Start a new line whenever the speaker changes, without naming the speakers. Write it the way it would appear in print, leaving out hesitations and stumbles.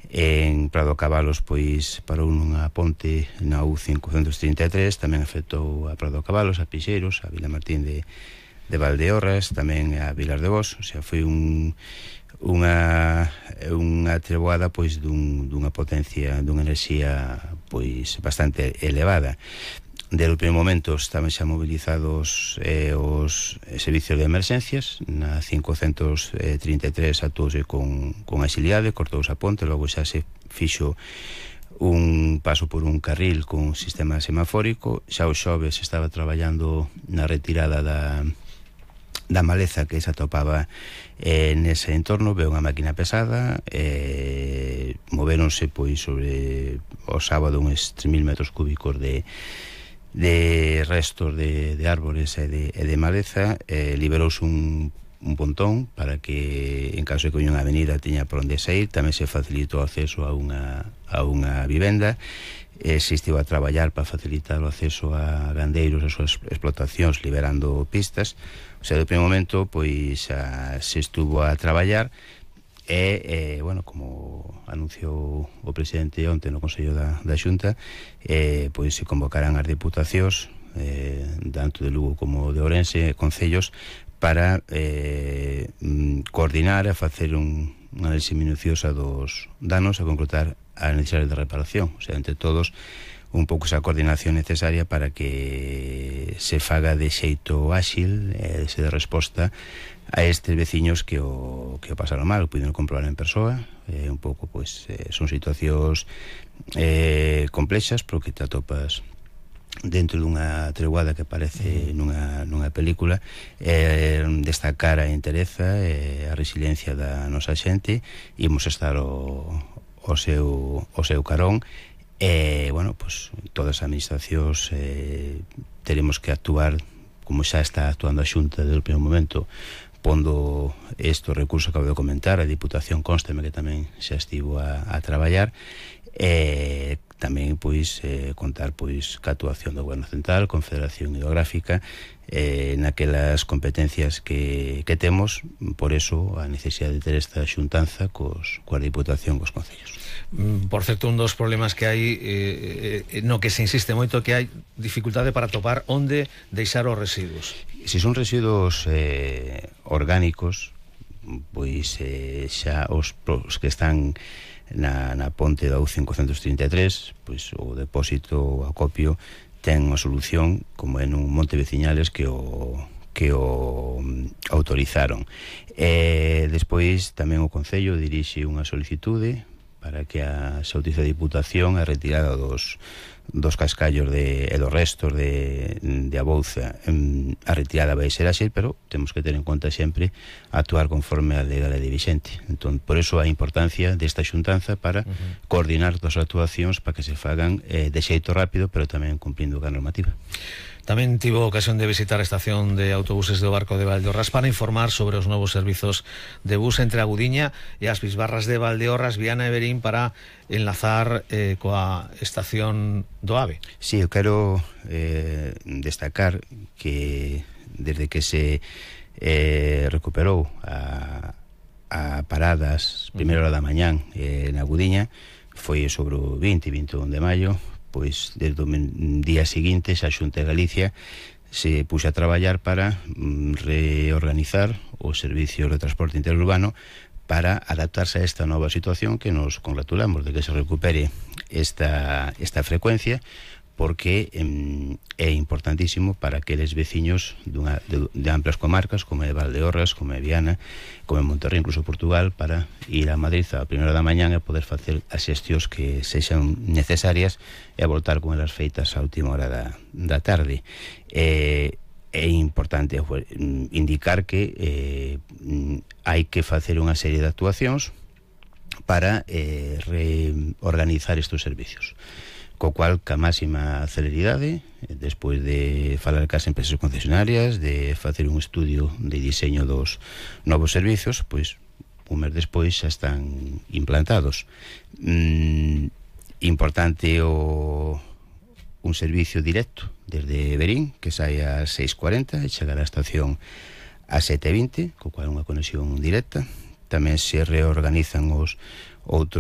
En Prado Cabalos, pois, parou nunha ponte na U533, tamén afectou a Prado Cabalos, a Pixeiros, a Vila Martín de Valdeorras, tamén a Vilar de Bos. O sea, foi unha treboada, pois, dunha potencia, dunha enerxía, pois, bastante elevada. Desde o primeiro momento estaban xa mobilizados os servicios de emerxencias. Na 533 actuouse con axilidade, cortouse a ponte, logo xa se fixo un paso por un carril con un sistema semafórico. Xa o xoves estaba traballando na retirada da maleza que se atopaba nese entorno. Veo unha máquina pesada, moveronse, pois, sobre o sábado uns 3.000 metros cúbicos de restos de árbores e de maleza. Liberouse un pontón para que, en caso de que hubiera unha avenida, tiña por onde sair. Tamén se facilitou o acceso a unha vivenda. Se estivo a traballar para facilitar o acceso a gandeiros e as súas explotacións, liberando pistas. O sea, do primeiro momento, pois, se estuvo a traballar. Bueno, como anunciou o presidente onte no Consello da Xunta, pois se convocarán as diputacións, tanto de Lugo como de Ourense, concellos, para coordinar e facer unha análise minuciosa dos danos e concretar as necesidades de reparación. O sea, entre todos, un pouco esa coordinación necesaria para que se faga de xeito áxil, se de resposta a estes veciños que o pasaron mal, o puderon comprobar en persoa. Un pouco, pois, son situacións complexas, pero que te atopas dentro dunha treguada que parece nunha película. Destacar a entereza e a resiliencia da nosa xente. Imos estar o seu carón. Bueno, pues todas as administracións teremos que actuar como xa está actuando a Xunta desde o primeiro momento, pondo estes recursos que acabo de comentar. A Diputación consteme que tamén xa estivo a traballar. Tamén, pois, contar, pois, ca actuación do Goberno Central, Confederación Hidrográfica, naquelas competencias que temos. Por eso a necesidade de ter esta xuntanza coa Diputación, cos concellos.
Por certo, un dos problemas que hai, no que se insiste moito, que hai dificultade para topar onde deixar os residuos.
Se son residuos orgánicos, pois xa os que están na ponte da U533, pois o depósito, o acopio, ten unha solución, como é nun monte veciñales que o autorizaron. Despois tamén o Concello dirixe unha solicitude para que se autorice a Diputación a retirada dos cascallos e dos restos de abouza. A retirada vai ser así, pero temos que ter en conta sempre actuar conforme a legalidade vigente. Entón, por eso a importancia desta xuntanza para coordinar todas as actuacións para que se fagan de xeito rápido, pero tamén cumplindo a normativa.
Tamén tivo ocasión de visitar a estación de autobuses do Barco de Valdeorras para informar sobre os novos servizos de bus entre a Gudiña e as Bisbarras de Valdeorras, Viana e Verín, para enlazar coa estación do AVE.
Sí, eu quero destacar que desde que se recuperou a paradas primeira hora da mañán na Gudiña, foi sobre o 20 e 21 de maio, pois desde o día seguinte a Xunta de Galicia se puxe a traballar para reorganizar os servicios de transporte interurbano para adaptarse a esta nova situación, que nos congratulamos de que se recupere esta frecuencia, porque é importantísimo para aqueles veciños de amplias comarcas como é Valdeorras, como é Viana, como é Monterrey, incluso Portugal, para ir a Madrid a primeira da mañán e poder facer as xestións que sexan necesarias e voltar con elas feitas a última hora da tarde. É importante indicar que hai que facer unha serie de actuacións para reorganizar estes servicios, co cual, ca máxima celeridade, despois de falar cas empresas concesionarias, de facer un estudio de diseño dos novos servizos, pois un mes despois xa están implantados. Importante un servicio directo desde Verín, que sai a 6:40 e chegará á estación a 7:20, co cual unha conexión directa. Tamén se reorganizan os outros